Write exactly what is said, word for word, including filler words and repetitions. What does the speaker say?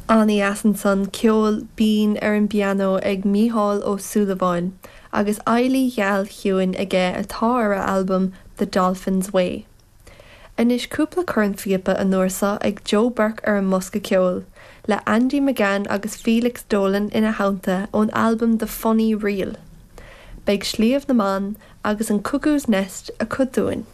An-deas ansan ceol binn ar an bpianó ag Mícheál Ó Súilleabháin, agus Eilí Gheal Chiúin aige atá ar a albam The Dolphin's Way. Anois cúpla cornphíopa an uair seo ag Joe Burke ar an mbosca ceoil, le Andy McGann agus Felix Dolan ina theannta ón albam The Funny Reel. Beidh Sliabh na mBan agus an Cuckoo's Nest acu dúinn.